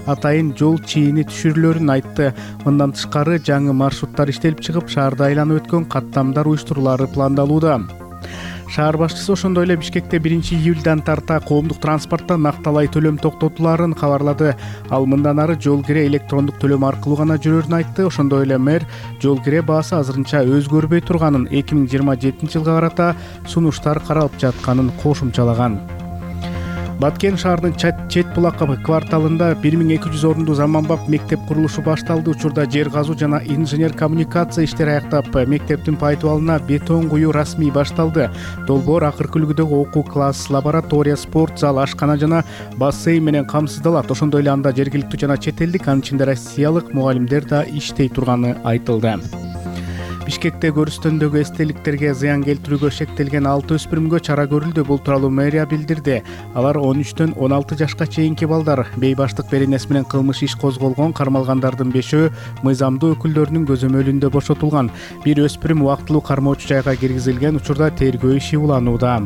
атайын жол чийини түшүрүлөрүн айтты. Мындан тышкары жаңы маршруттар иштелип чыгып, шаарды айланып өткөн каттамдар уюштурулары пландалууда. Шаар башчысы ошондой эле Бишкекте 1-июлдан тарта коомдук транспортто накталай төлөм токтотулаарын кабарлады. Ал мындан ары жол кире электрондук төлөм аркылуу гана жүрөрүн айтты. Ошондой эле мэр жол кире баасы азырынча өзгөрбөй турганын, 2027-жылга карата сунуштар каралып жатканын кошумчалаган. Баткен шаарынын чет булак кварталында 1200 орундуу заманбап мектеп курулушу башталды. Учурда жер казуу жана инженер коммуникация иштери аяктап, мектептин пайдубалына бетон куюу расмий башталды. Долбоор акыркы үлгүдөгү окуу класс, лаборатория, спорт зал, ашкана жана бассейн менен камсыздалат. Ошондой эле анда жергиликтүү жана чет элдик, анын ичинде россиялык мугалимдер да иштей турганы айтылды. Бишкекте көрүстөндөгү эстеликтерге зыян келтирүүгө шектелген 6 өспүрүмгө чара көрүлдү. Бул тууралуу мэрия билдирди. Алар 13-төн 16 жашка чейинки балдар. Бейбаштык беренеси менен кылмыш иш козголгон. Кармалгандардын 5-өө мыйзамдуу өкүлдөрүнүн көзөмөлүндө бошотулган. Бир өспүрүм убактылуу кармоочу жайга киргизилген. Учурда тергөө иши уланууда.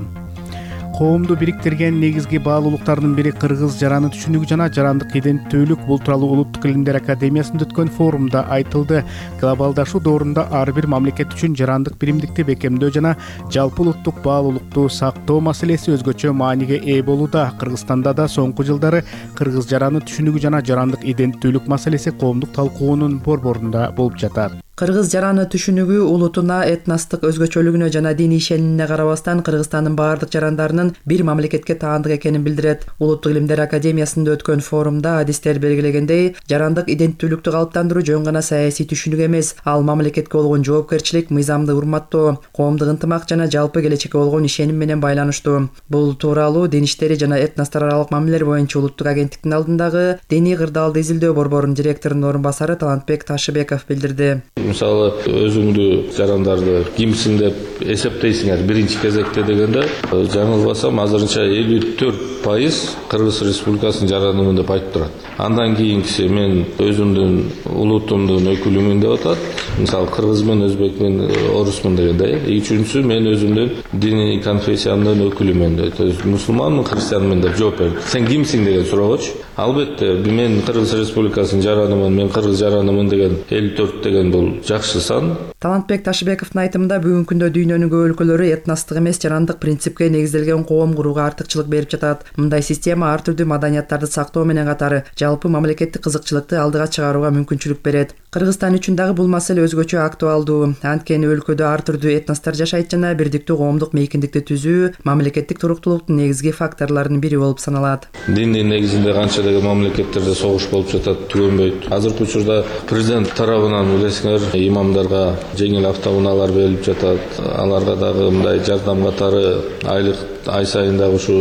Коомду бириктирген негизги баалуулуктардын бири кыргыз жараны түшүнүгү жана жарандык иденттүүлүк. Бул тууралуу Улуттук илимдер академиясында өткөн форумда айтылды. Глобалдашуу доорунда ар бир мамлекет үчүн жарандык биримдикти бекемдөө жана жалпы улуттук баалуулукту сактоо маселеси өзгөчө мааниге ээ болууда. Кыргызстанда да соңку жылдары кыргыз жараны түшүнүгү жана жарандык иденттүүлүк маселеси коомдук талкуунун борборунда болуп жатат. Кыргыз жараны түшүнүгү улутуна, этностук өзгөчөлүгүнө жана диний ишенимине карабастан Кыргызстандын баардык жарандарынын бир мамлекетке таандык экенин билдирет. Улуттук илимдер академиясында өткөн форумда адистер белгилегендей, жарандык иденттүүлүктү калыптандыруу жөн гана саясий түшүнүк эмес, ал мамлекетке болгон жоопкерчилик, мыйзамды урматтоо, коомдук ынтымак жана жалпы келечекке болгон ишеним менен байланыштуу. Бул тууралуу Дин иштери жана этностор аралык мамилелер боюнча улуттук агенттиктин алдындагы диний кырдаалды изилдөө борборунун директорунун орун басары Талантбек Ташыбеков билдирди. Мисалы, өзүңдү жарандарды кимсиң деп эсептейсиңер биринчи кезекте дегенде, жаңылбасам азырынча 54% Кыргыз Республикасынын жаранымын деп айтып турат. Андан кийинкиси мен өзүмдүн улутумдун өкүлүмүн деп атат. Мисалы, кыргызмын, өзбекмин, орусмун дегенде. Үчүнчүсү мен өзүмдүн диний конфессиямдын өкүлүмүн, то есть мусулманмын, христианмын деп жооп берди. Сен кимсиң деген суроогочу. Албетте, мен Кыргыз Республикасынын жаранымын, мен кыргыз жаранымын деген 54 деген бул жакшы сан. Талантбек Ташыбековдун айтымында бүгүнкү күндө дүйнөнүн көп өлкөлөрү этностук эмес жарандык принципке негизделген коом курууга артыкчылык берип жатат. Мындай система ар түрдүү маданияттарды сактоо менен катары жалпы мамлекеттик кызыкчылыкты алдыга чыгарууга мүмкүнчүлүк берет. Кыргызстан үчүн дагы бул маселе өзгөчө актуалдуу. Анткени өлкөдө ар түрдүү этностор жашайт жана бирдиктүү коомдук мейкиндикти түзүү мамлекеттик туруктуулуктун негизги факторлорунун бири болуп саналат. Диндин негизинде канча деген мамлекеттерде согуш болуп жатат, түгөнбөйт. Азыркы учурда президент тарабынан билесиңер, имамдарга жеңил автоунаалар берилип жатат. Аларга дагы мындай жардам катары ай сайын дагы ушу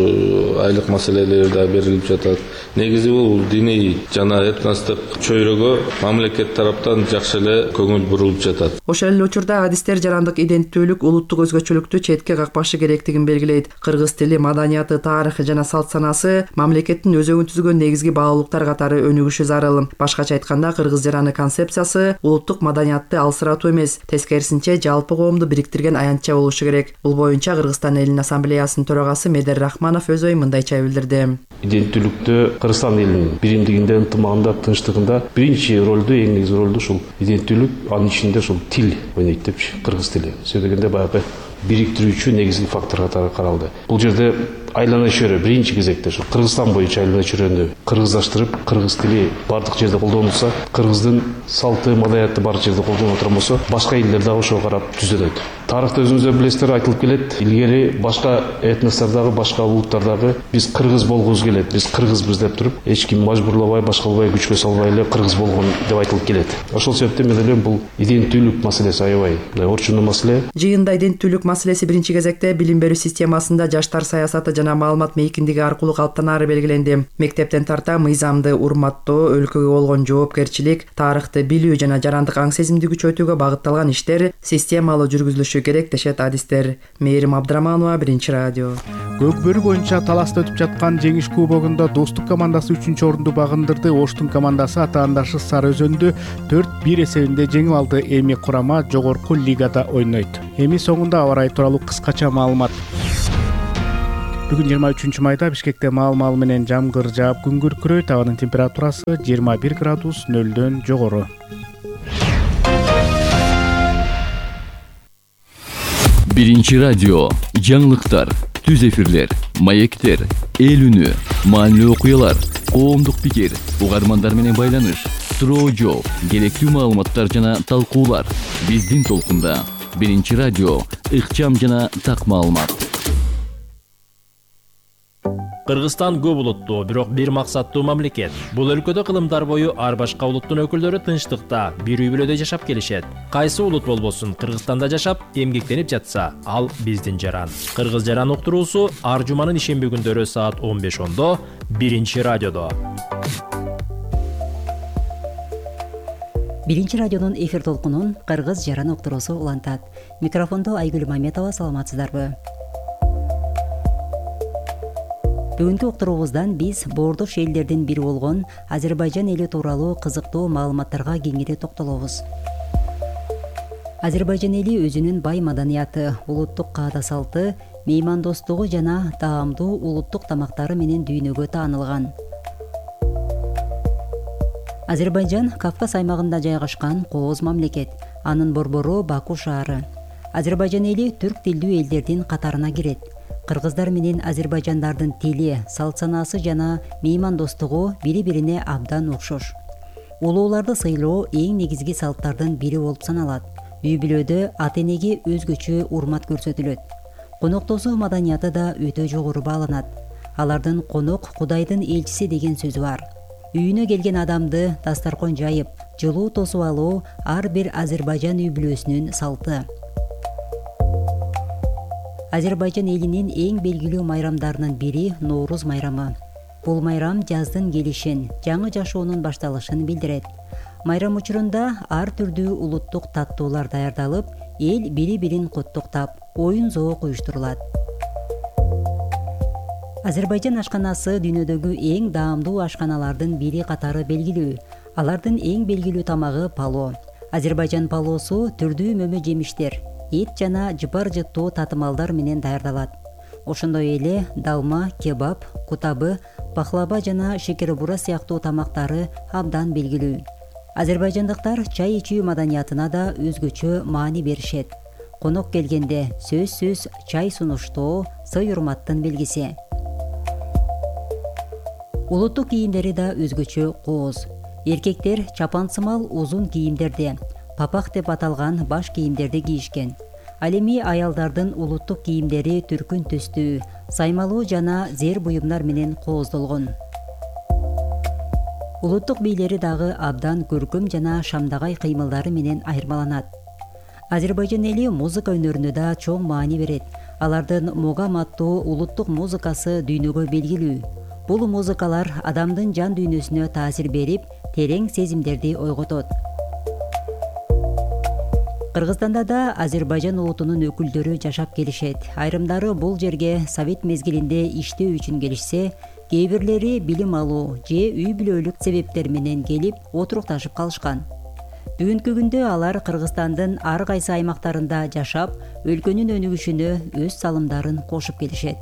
айлык маселелери да берилип жатат. Негизи бул диний жана этностук чөйрөгө мамлекет тараптан жакшы эле көңүл бурулуп жатат. Ошол эле учурда адистер жарандык иденттүүлүк, улуттук өзгөчөлүктү четке какпашы керектигин белгилейт. Кыргыз тили, маданияты, тарыхы жана салт санаасы мамлекеттин өзөгүн түзгөн негизги баалуулуктар катары өнүгүшү зарыл. Башкача айтканда, кыргыз жараны концепциясы улуттук маданиятты алсыратуу эмес, тескерисинче жалпы коомду бириктирген аянтча болушу керек. Бул боюнча Кыргызстан элинин ассамблеясынын төрагасы Медер Рахманов өз ойун мындайча билдирди. Иденттүүлүктө Кыргызстан элинин биримдигинде, ынтымагында, тынчтыгында биринчи ролду, эң негизги ролду ушул иденттүүлүк, анын ичинде ушул тил ойнойт депчи, кыргыз тили. Сөз дегенде баягы бириктирүүчү негизги фактор катары каралды. Бул жерде айлана чөйрө биринчи кезекте ушу Кыргызстан боюнча айлана чөйрөнү кыргыздаштырып, кыргыз тили бардык жерде колдонулса, кыргыздын салты, маданияты бардык жерде колдонула турган болсо, башка элдер дагы ошого карап түзөлөт. Тарыхта өзүңүздөр билесиздер, айтылып келет. Илгери башка этностордогу, башка улуттардагы биз кыргыз болгубуз келет, биз кыргызбыз деп туруп, эч ким мажбурлабай, башкалабай, күчкө салбай эле кыргыз болгон деп айтылып келет. Ошол себептен мен ойлойм, бул иденттүүлүк маселеси аябай орчундуу маселе. Жыйында иденттүүлүк маселеси биринчи кезекте билим берүү системасында жаштар саясаты жана маалымат мейкиндиги аркылуу калыптанары белгиленди. Мектептен тарта мыйзамды урматтоо, өлкөгө болгон жоопкерчилик, тарыхты билүү жана жарандык аң сезимди күчөтүүгө багытталган иштер системалуу жүргүзүлүшү керек дешет адистер. Мээрим Абдраманова, Биринчи радио. Көкбөрү боюнча таласта өтүп жаткан жеңиш кубогунда Достук командасы 3-чү орунду багындырды. Оштун командасы атаандашы Сары Өзөндү 4-1 эсебинде жеңип алды. Эми курама жогорку лигада ойнойт. Эми соңунда аба ырайы тууралуу кыскача маалымат. Бүгүн 23 майда Бишкекте маал менен жамгыр жаап күн күркүрөйт. Абанын температурасы 21 градус 0-дөн жогору. Биринчи радио, жаңылыктар, түз эфирлер, маектер, эл үнү, маанилүү окуялар, коомдук пикир, угармандар менен байланыш, суроо жооп, керектүү маалыматтар жана талкуулар. Биздин толкунда Биринчи радио, ыкчам жана так маалымат. Кыргызстан көп улуттуу, бирок бир максаттуу мамлекет. Бул өлкөдө кылымдар бою ар башка улуттун өкүлдөрү тынчтыкта, бир үй бүлөдө жашап келишет. Кайсы улут болбосун, Кыргызстанда жашап, эмгектенип жатса, ал биздин жаран. Кыргыз жаран уктуруусу ар жуманын ишемби күндөрү саат 15:10 Биринчи радиодо. Биринчи радионун эфир толкунун Кыргыз жаран уктуруусу улантат. Микрофондо Айгүл Маметова, саламатсыздарбы? Бүгүнкү уктуруубуздан биз боордош элдердин бири болгон Азербайжан эли тууралуу кызыктуу маалыматтарга кеңири токтолобуз. Азербайжан эли өзүнүн бай маданияты, улуттук каада салты, меймандостугу жана таамдуу улуттук тамактары менен дүйнөгө таанылган. Азербайжан Кавказ аймагында жайгашкан кооз мамлекет. Анын борбору Баку шаары. Азербайжан эли түрк тилдүү элдердин катарына кирет. Кыргыздар менен азербайжандардын тили, салт санаасы жана меймандостугу бири-бирине абдан окшош. Улууларды сыйлоо эң негизги салттардын бири болуп саналат. Үй бүлөдө ата-энеге өзгөчө урмат көрсөтүлөт. Коноктосуу маданияты да өтө жогору бааланат. Алардын конок Кудайдын элчиси деген сөзү бар. Үйүнө келген адамды дастаркон жайып, жылуу тосуп алуу ар бир Азербайжан үй бүлөсүнүн салты. Азербайжан элинин эң белгилүү майрамдарынын бири Норуз майрамы. Бул майрам жаздын келишин, жаңы жашоонун башталышын билдирет. Майрам учурунда ар түрдүү улуттук таттуулар даярдалып, эл бири-бирин куттуктап, оюн-зоок уюштурулат. Азербайжан ашканасы дүйнөдөгү эң даамдуу ашканалардын бири катары белгилүү. Алардын эң белгилүү тамагы пало. Азербайжан палоосу түрдүү мөмө жемиштер, эт жана жыпар жыттуу татымалдар менен даярдалат. Ошондой эле далма, кебаб, кутабы, пахлаба жана шекербура сыяктуу тамактары абдан белгилүү. Азербайжандыктар чай ичүү маданиятына да өзгөчө маани беришет. Конок келгенде сөзсүз чай сунуштоо сый-урматтын белгиси. Улуттук кийимдери да өзгөчө кооз. Эркектер чапансымал узун кийимдерди, папах деп аталган баш кийимдерди кийишкен. Ал эми аялдардын улуттук кийимдери түркүн түстүү, саймалуу жана зер буюмдар менен кооздолгон. Улуттук бийлери дагы абдан көркөм жана шамдагай кыймылдары менен айырмаланат. Азербайжан эли музыка өнөрүнө да чоң маани берет. Алардын могам аттуу улуттук музыкасы дүйнөгө белгилүү. Бул музыкалар адамдын жан дүйнөсүнө таасир берип, терең сезимдерди ойготот. Кыргызстанда да Азербайжан улутунун өкүлдөрү жашап келишет. Айрымдары бул жерге совет мезгилинде иштөө үчүн келишсе, кээ бирлери билим алуу же үй бүлөлүк себептер менен келип отурукташып калышкан. Бүгүнкү күндө алар Кыргызстандын ар кайсы аймактарында жашап, өлкөнүн өнүгүшүнө өз салымдарын кошуп келишет.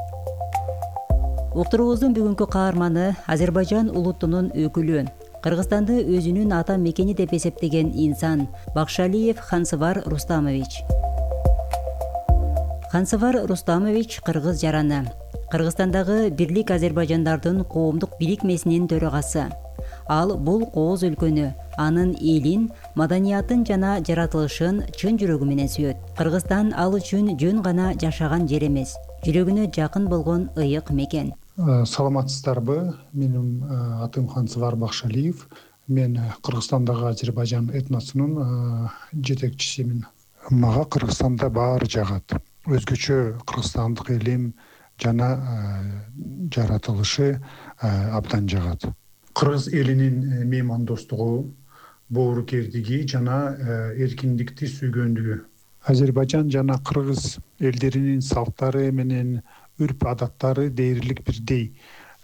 Уктуруубуздун бүгүнкү каарманы Азербайжан улутунун өкүлү, Кыргызстанды өзүнүн ата мекени деп эсептеген инсан Бакшалиев Хансывар Рустамович. Хансывар Рустамович кыргыз жараны. Кыргызстандагы Бирлик Азербайжандардын коомдук бирикмесинин төрагасы. Ал бул кооз өлкөнү, анын элин, маданиятын жана жаратылышын чын жүрөгү менен сүйөт. Кыргызстан ал үчүн жөн гана жашаган жер эмес, жүрөгүнө жакын болгон ыйык мекен. Саламатсыздарбы? Менин атым Хансывар Бакшалиев. Мен Кыргызстандагы Азербайжан этносунун жетекчисимин. Мага Кыргызстанда баары жагат. Өзгөчө кыргызстандык элим жана жаратылышы абдан жагат. Кыргыз элинин меймандостугу, боорукердиги жана эркиндикти сүйгөндүгү. Азербайжан жана кыргыз элдеринин салттары менен үрп адаттары дээрлик бирдей.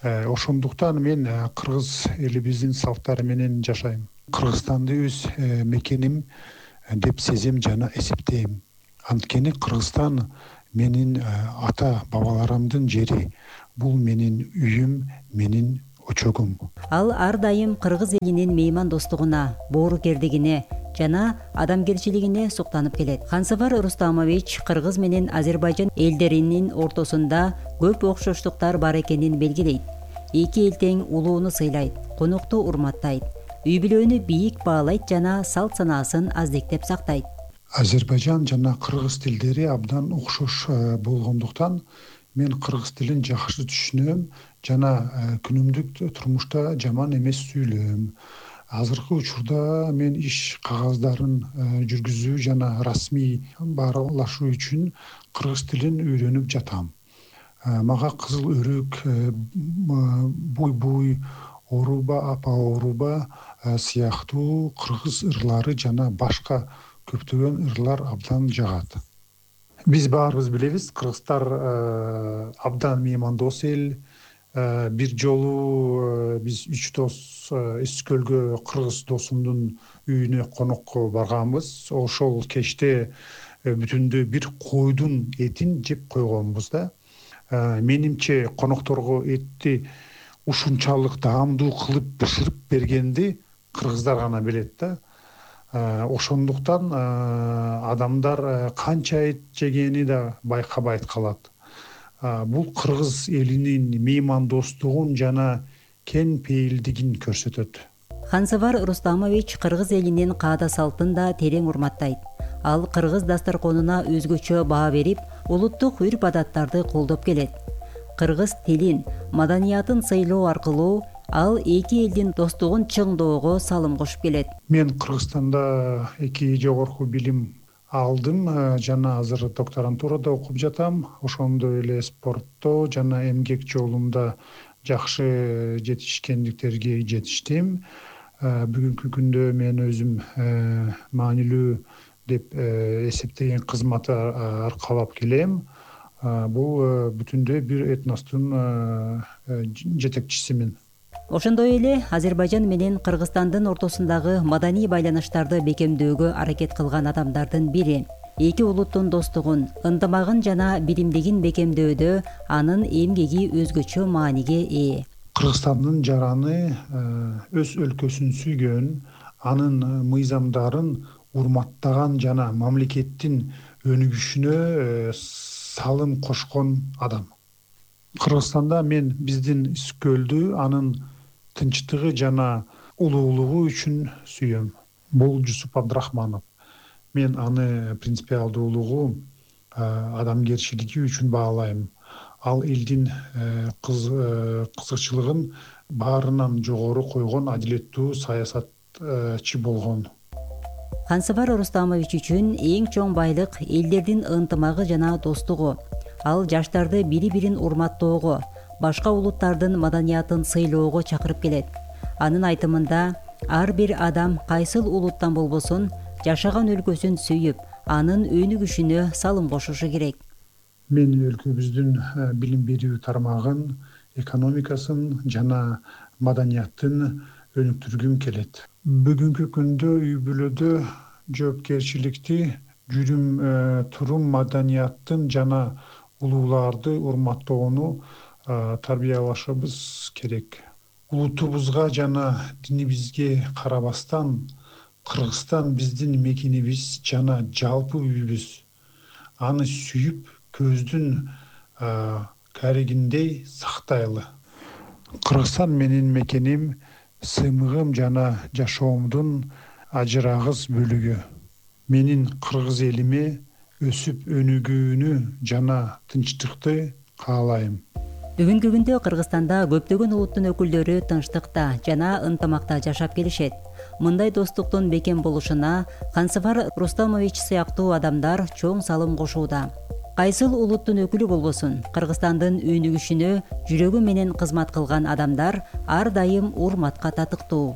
Ошондуктан мен кыргыз элибиздин салттары менен жашайм. Кыргызстанды өз мекеним деп сезем жана эсептейм. Анткени Кыргызстан менин ата бабаларымдын жери, бул менин үйүм, менин очогум. Ал ар дайым кыргыз элинин меймандостугуна, боорукердигине жана адамгерчилигине суктанып келет. Хансавар Рустамович кыргыз менен Азербайжан элдеринин ортосунда көп окшоштуктар бар экенин белгилейт. Эки эл тең улууну сыйлайт, конукту урматтайт, үй бүлөнү бийик баалайт жана салт санаасын аздектеп сактайт. Азербайжан жана кыргыз тилдери абдан окшош болгондуктан мен кыргыз тилин жакшы түшүнөм жана күнүмдүк турмушта жаман эмес сүйлөйм. Азыркы учурда мен иш кагаздарын жүргүзүү жана расмий баарлашуу үчүн кыргыз тилин үйрөнүп жатам. Мага кызыл өрүк, буй-буй, оруба, апа оруба сыяктуу кыргыз ырлары жана башка көптөгөн ырлар абдан жагат. Биз баарыбыз билебиз, кыргыздар абдан меймандос эл. Бир жолу биз 3 дос Искөлгө кыргыз досумдун үйүнө конокко барганбыз. Ошол кечте бүтүндө бир койдун этин жеп койгонбуз да. Менимче конокторго этти ушунчалык даамдуу кылып бышырып бергенди кыргыздар гана билет да. Ошондуктан адамдар канча эт жегени да байкабайт калат. Бул кыргыз элинин меймандостугун жана кен пейилдигин көрсөтөт. Хансавар Рустамович кыргыз элинин каада салтын да терең урматтайт. Ал кыргыз дастарконуна өзгөчө баа берип, улуттук үрп-адаттарды колдоп келет. Кыргыз тилин, маданиятын сыйлоо аркылуу ал эки элдин достугун чыңдоого салым кошуп келет. Мен Кыргызстанда 2 жогорку билим алдым жана азыр докторантурада окуп жатам. Ошондой эле спортто жана эмгек жолунда жакшы жетишкендиктерге жетиштим. Бүгүнкү күндө мен өзүм маанилүү деп эсептеген кызматты аркалап келем. Бул бүтүндөй бир этностун жетекчисимин. Ошондой эле Азербайжан менен Кыргызстандын ортосундагы маданий байланыштарды бекемдөөгө аракет кылган адамдардын бири. Эки улуттун достугун, ынтымагын жана биримдигин бекемдөөдө анын эмгеги өзгөчө мааниге ээ. Кыргызстандын жараны өз өлкөсүн сүйгөн, анын мыйзамдарын урматтаган жана мамлекеттин өнүгүшүнө салым кошкон адам. Кыргызстанда мен биздин Искөлдү анын тынчтыгы жана улуулугу үчүн сүйөм. Бул Жусуп Абдрахманов. Мен аны принципиалдуулугу, адамгерчилиги үчүн баалайм. Ал элдин кызыкчылыгын баарынан жогору койгон адилеттүү саясатчы болгон. Хансавар Рустамович үчүн эң чоң байлык элдердин ынтымагы жана достугу. Ал жаштарды бири-бирин урматтоого, башка улуттардын маданиятын сыйлоого чакырып келет. Анын айтымында, ар бир адам кайсыл улуттан болбосун, жашаган өлкөсүн сүйүп, анын өнүгүшүнө салым кошушу керек. Мен өлкөбүздүн билим берүү тармагын, экономикасын жана маданияттын өнүктүргүм келет. Бүгүнкү күндө үй бүлөдө жоопкерчиликти, жүрүм турум маданияттын жана улууларды урматтоону тарбиялашыбыз керек. Улутубузга жана динибизге карабастан, Кыргызстан биздин мекенибиз жана жалпы үйүбүз. Аны сүйүп, көздүн карегиндей сактайлы. Кыргызстан менин мекеним, сыймыгым жана жашоомдун ажырагыс бөлүгү. Менин кыргыз элиме өсүп өнүгүүнү жана тынчтыкты каалайм. Бүгүнкү күндө Кыргызстанда көптөгөн улуттун өкүлдөрү тынчтыкта жана ынтымакта жашап келишет. Мындай достуктун бекем болушуна Хансавар Рустамович сыяктуу адамдар чоң салым кошууда. Кайсыл улуттун өкүлү болбосун, Кыргызстандын өнүгүшүнө жүрөгү менен кызмат кылган адамдар ар дайым урматка татыктуу.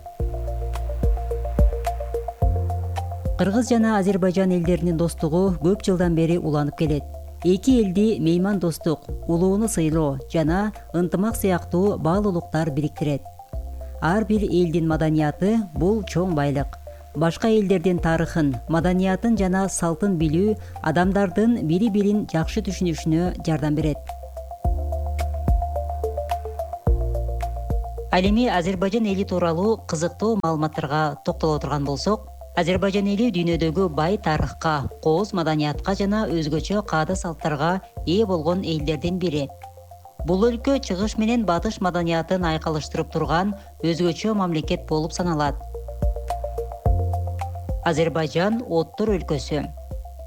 Кыргыз жана Азербайжан элдеринин достугу көп жылдан бери уланып келет. Эки элди меймандостук, улууну сыйлоо жана ынтымак сыяктуу баалуулуктар бириктирет. Ар бир элдин маданияты бул чоң байлык. башка элдердин тарыхын, маданиятын жана салтын билүү адамдардын бири бирин жакшы түшүнүшүнө жардам берет. Ал эми Азербайжан эли тууралуу кызыктуу маалыматтарга токтоло турган болсок, Азербайжан эли дүйнөдөгү бай тарыхка, кооз маданиятка жана өзгөчө каада салттарга ээ болгон элдердин бири. Бул өлкө чыгыш менен батыш маданиятын айкалыштырып турган өзгөчө мамлекет болуп саналат. Азербайжан оттор өлкөсү.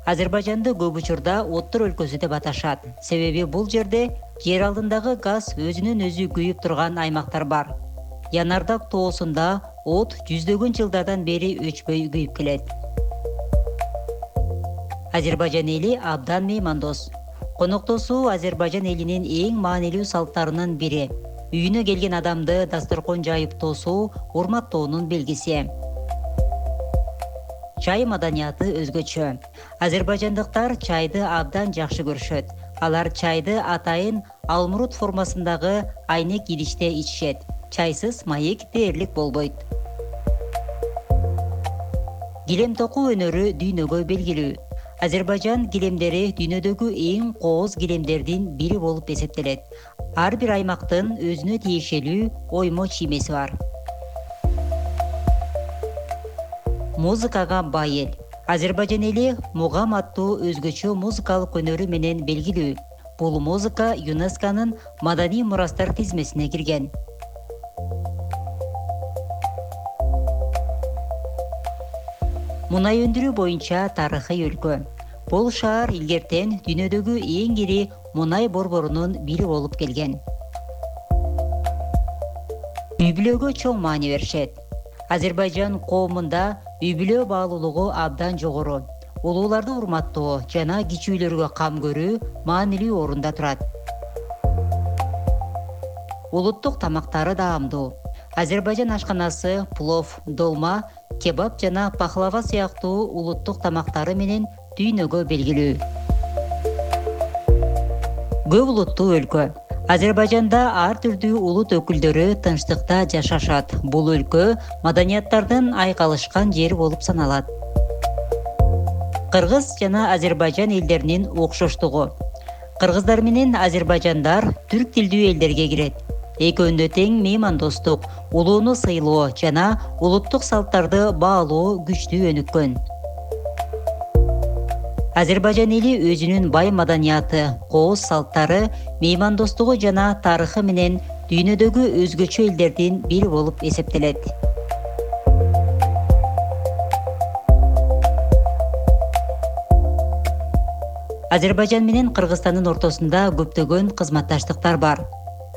Азербайжанды көп учурда оттор өлкөсү деп аташат. Себеби бул жерде жер алдындагы газ өзүнөн өзү күйүп турган аймактар бар. Янардак тоосунда от жүздөгөн жылдардан бери өчпөй күйүп келет. Азербайжан эли абдан меймандос. Коноктосуу Азербайжан элинин эң маанилүү салттарынын бири. Үйүнө келген адамды дасторкон жайып тосуу урматтоонун белгиси. Чай маданияты өзгөчө. Азербайжандыктар чайды абдан жакшы көрүшөт. Алар чайды атайын алмурут формасындагы айнек идиште ичишет. Чайсыз маек дээрлик болбойт. Килем токуу өнөрү дүйнөгө белгилүү. Азербайжан килемдери дүйнөдөгү эң кооз килемдердин бири болуп эсептелет. Ар бир аймактын өзүнө тиешелүү оймо чиймеси бар. Музыкага бай эл. Азербайжан эли мугам аттуу өзгөчө музыкалык өнөрү менен белгилүү. Бул музыка ЮНЕСКОнун маданий мурастар тизмесине кирген. Мунай өндүрүү боюнча тарыхый өлкө. Бул шаар илгертен дүйнөдөгү эң ири мунай борборунун бири болуп келген. Үй-бүлөгө чоң маани беришет. Азербайжан коомунда үй-бүлө баалуулугу абдан жогору. Улууларды урматтоо жана кичүүлөргө кам көрүү маанилүү орунда турат. Улуттук тамактары даамдуу. Азербайжан ашканасы плов, долма, кебаб жана пахлава сыяктуу улуттук тамактары менен дүйнөгө белгилүү. Көп улуттуу өлкө. Азербайжанда ар түрдүү улут өкүлдөрү тынчтыкта жашашат. Бул өлкө маданияттардын айкалышкан жери болуп саналат. Кыргыз жана Азербайжан элдеринин окшоштугу. Кыргыздар менен азербайжандар түрк тилдүү элдерге кирет. Экөөндө тең меймандостук, улууну сыйлоо жана улуттук салттарды баалоо күчтүү өнүккөн. Азербайжан эли өзүнүн бай маданияты, кооз салттары, меймандостугу жана тарыхы менен дүйнөдөгү өзгөчө элдердин бири болуп эсептелет. Азербайжан менен Кыргызстандын ортосунда көптөгөн кызматташтыктар бар.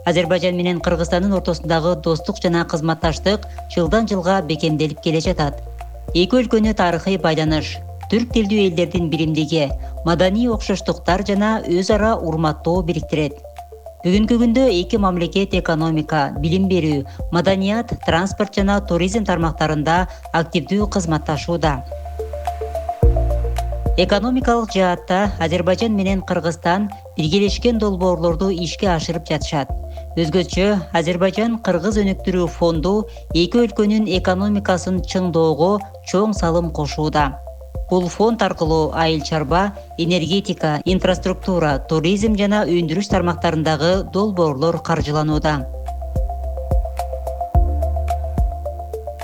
Азербайжан менен Кыргызстандын ортосундагы достук жана кызматташтык жылдан жылга бекемделип келе жатат. Эки өлкөнү тарыхый байланыш, түрк тилдүү элдердин биримдиги, маданий окшоштуктар жана өз ара урматтоо бириктирет. Бүгүнкү күндө эки мамлекет экономика, билим берүү, маданият, транспорт жана туризм тармактарында активдүү кызматташууда. Экономикалык жаатта Азербайжан менен Кыргызстан биргелешкен долбоорлорду ишке ашырып жатышат. Өзгөчө Азербайжан Кыргыз өнүктүрүү фонду эки өлкөнүн экономикасын чыңдоого чоң салым кошууда. Бул фонд аркылуу айыл чарба, энергетика, инфраструктура, туризм жана өндүрүш тармактарындагы долбоорлор каржыланууда.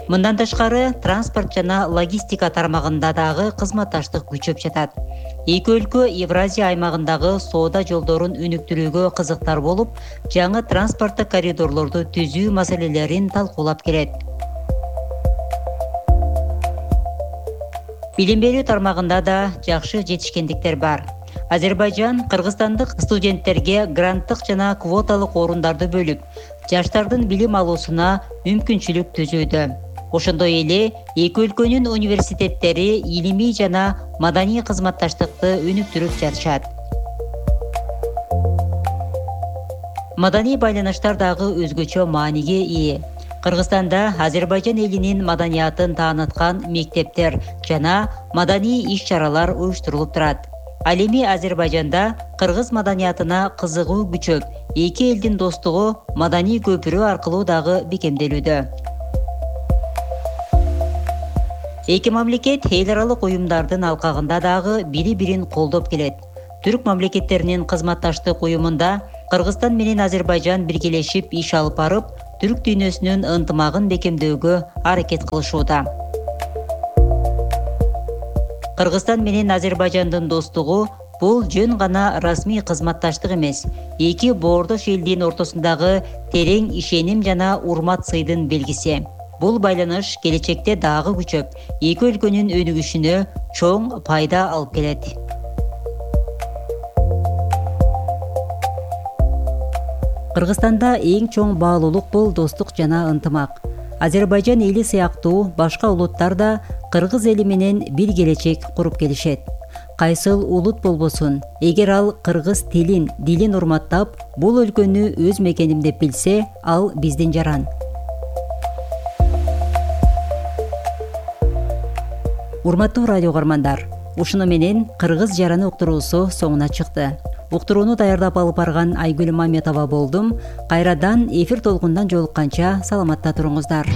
Мындан тышкары транспорт жана логистика тармагында дагы кызматташтык күчөп жатат. Эки өлкө Евразия аймагындагы соода жолдорун өнүктүрүүгө кызыктар болуп, жаңы транспорттук коридорлорду түзүү маселелерин талкуулап келет. Билим берүү тармагында да жакшы жетишкендиктер бар. Азербайжан кыргызстандык студенттерге гранттык жана квоталык орундарды бөлүп, жаштардын билим алуусуна мүмкүнчүлүк түзүүдө. Ошондой эле эки өлкөнүн университеттери илимий жана маданий кызматташтыкты өнүктүрүп жатышат. Маданий байланыштар дагы өзгөчө мааниге ээ. Кыргызстанда Азербайжан элинин маданиятын тааныткан мектептер жана маданий иш-чаралар уюштурулуп турат. Ал эми Азербайжанда кыргыз маданиятына кызыгуу күчөп, эки элдин достугу маданий көпүрө аркылуу дагы бекемделүүдө. Эки мамлекет эл аралык уюмдардын алкагында дагы бири-бирин колдоп келет. Түрк мамлекеттеринин кызматташтык уюмунда Кыргызстан менен Азербайжан биргелешип иш алып барып, түрк дүйнөсүнүн ынтымагын бекемдөөгө аракет кылышууда. Кыргызстан менен Азербайжандын достугу бул жөн гана расмий кызматташтык эмес, эки боордош элдин ортосундагы терең ишеним жана урмат сыйдын белгиси. Бул байланыш келечекте дагы күчөп, эки өлкөнүн өнүгүшүнө чоң пайда алып келет. Кыргызстанда эң чоң баалуулук бул достук жана ынтымак. Азербайжан эли сыяктуу башка улуттар да кыргыз эли менен бир келечек куруп келишет. Кайсыл улут болбосун, эгер ал кыргыз дилин урматтап, бул өлкөнү өз мекеним деп билсе, ал биздин жаран. Урматтуу радио угармандар, ушуну менен Кыргыз жараны уктуруусу соңуна чыкты. Уктурууну даярдап алып барган Айгүл Маметова болдум. Кайрадан эфир толкундан жолукканча саламатта туруңуздар.